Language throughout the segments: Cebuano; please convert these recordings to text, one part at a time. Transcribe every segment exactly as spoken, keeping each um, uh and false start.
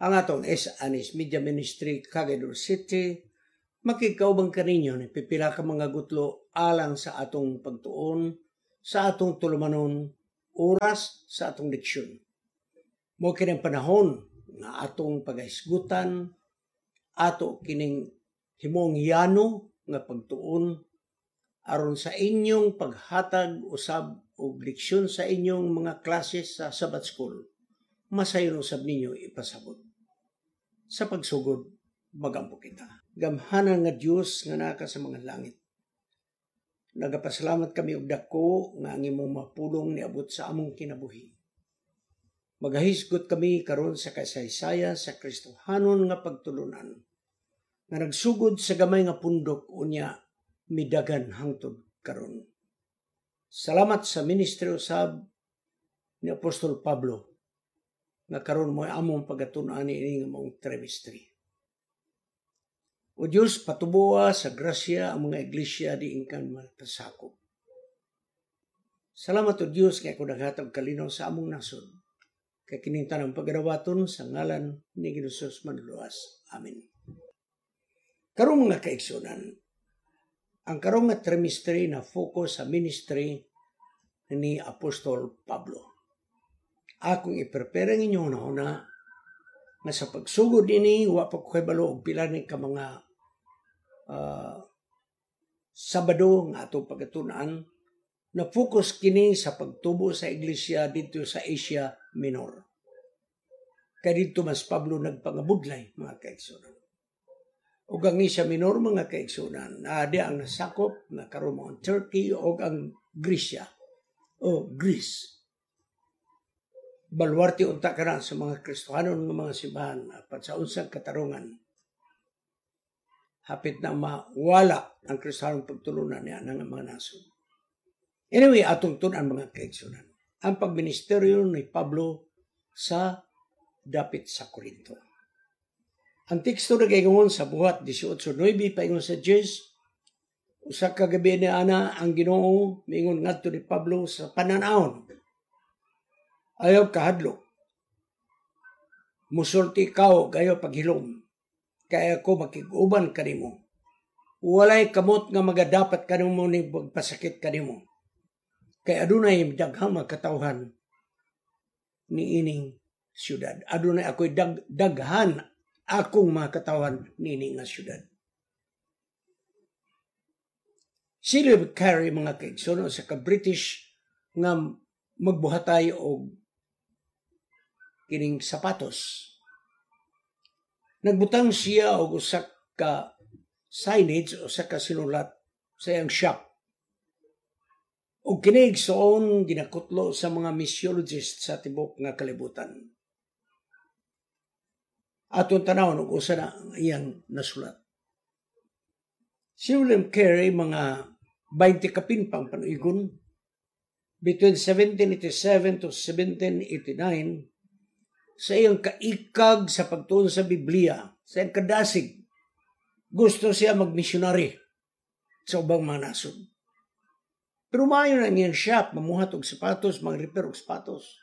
Ang atong S. Anis Media Ministry, Cagayan City, makigkauban kaninyo ni pipila ka mga gutlo alang sa atong pagtuon, sa atong tulumanon, oras sa atong leksyon. Mao kining panahon nga atong pagahisgutan, ato kining himong yano nga pagtuon aron sa inyong paghatag usab og leksyon sa inyong mga klase sa Sabbath School, masayon usab ninyo ipasabot. Sa pagsugod, magampo kita. Gamhanan nga Dios nga naa ka sa mga langit. Nagapasalamat kami og dako nga ang imong mapulong niabot sa among kinabuhi. Magahisgot kami karon sa kasaysaya sa Kristohanon nga pagtulunan nga nagsugod sa gamay nga pundok unya midagan hangtod karon. Salamat sa ministry usab ni Apostol Pablo nga karon mo among pagatun-an ini nga maong trimestre. O Diyos, patuboa sa grasya ang mga iglesia diin kan mapasakop. Salamat o Diyos kay ako naghatag kalinaw sa among nasod. Kay kining tanang pagarawaton sa ngalan ni Ginoong Manluluwas. Amen. Karong mga kaigsunan, ang karong nga trimestre na focus sa ministry ni Apostol Pablo. Akong i-prepare ang inyong hunahuna nga sa pagsugod ini wa pa ko kabalo og pila ni ka mga uh, Sabado nga atong pagatunan na focus kini sa pagtubo sa iglesia dito sa Asia Minor. Kay dito mas Pablo nagpangabudlay mga kaigsunan. Ug ang Asia Minor mga kaigsunan, naa di ang nasakop nga karon mo ang Turkey o ang Grecia o Greece. Baluarte unta kana sa mga Kristohanon nga mga simbahan apan sa unsang katarungan. Hapit na mawala ang Kristohanong pagtulunan niya ng mga nasod. Anyway, atong tun-an mga kaigsunan. Ang pagministeryo ni Pablo sa dapit sa Corinto. Ang teksto nagaingon sa buhat eighteen nine paingon sa Diyos, usa ka gabi ni ana ang Ginoo miingon ngadto ni Pablo sa pananawon. Ayaw kahadlok. Musulti ka ayaw paghilom. Kay ako makig-uban kanimo. Walay kamot nga magadapat kanimo ni magpasakit kanimo. Kay adunay daghang mga katawhan ni ining syudad. Adunay ako'y dag, daghan akong mga katawhan niini nga syudad. Si William Carey mga kaigsoon sa ka British nga magbuhatay og kining sapatos. Nagbutang siya og usa ka signage o usa ka sinulat sa iyang shop. Og kini igsoon ginakutlo sa mga missiologists sa tibok nga kalibutan. Atong tanawon og usa na ang iyang nasulat. Si William Carey mga twenty kapin pang panuigon between seventeen eighty-seven to seventeen eighty-nine sa iyang kaikag sa pagtuon sa Biblia, sa iyang kadasig, gusto siya magmisyonary sa ubang mga nasod. Pero maayo na iyang shop, mamuhat og sapatos, mag-repair og sapatos.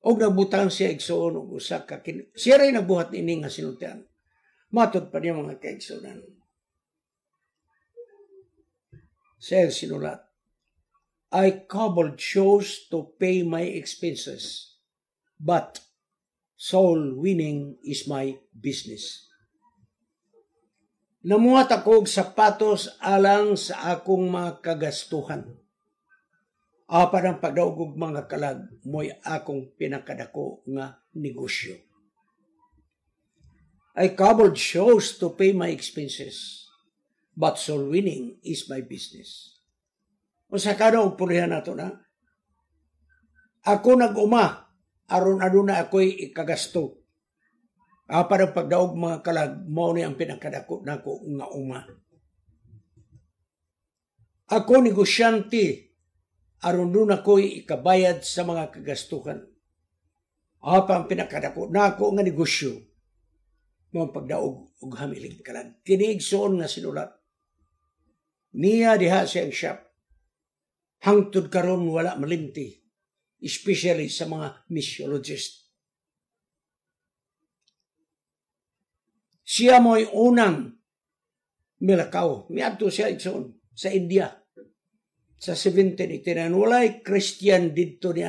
Og nagbutang siya igsoon og usa ka kin- siya ray nagbuhat niini nga sinultian. Matod pa niya mga kaigsuonan. Siya sinulat, "I cobbled shoes to pay my expenses, but soul winning is my business." Namuhat ako og sapatos alang sa akong mga kagastuhan. Apan ang pagdaog og mga kalag mo'y akong pinakadako nga negosyo. I cobbled shoes to pay my expenses, but soul winning is my business. Usa ka og pulihan nato na. Ako nag-uma aron aduna ako'y ikagasto. Apan ang pagdaog mga kalag mao ni ang pinakadako nako nga uma. Ako negosyante aron duna ako'y ikabayad sa mga kagastuhan. Apan ang pinakadako nako nga negosyo mao ang pagdaog og hamiling kalag. Kini igsoon nga sinulat. Niya diha siyang shop. Hangtod karon wala malimti, especially sa mga missiologist. Siya mo'y unang milakaw. Miadto siya, igsoon, sa India sa seventeen eighty-nine. Walay Christian didto ni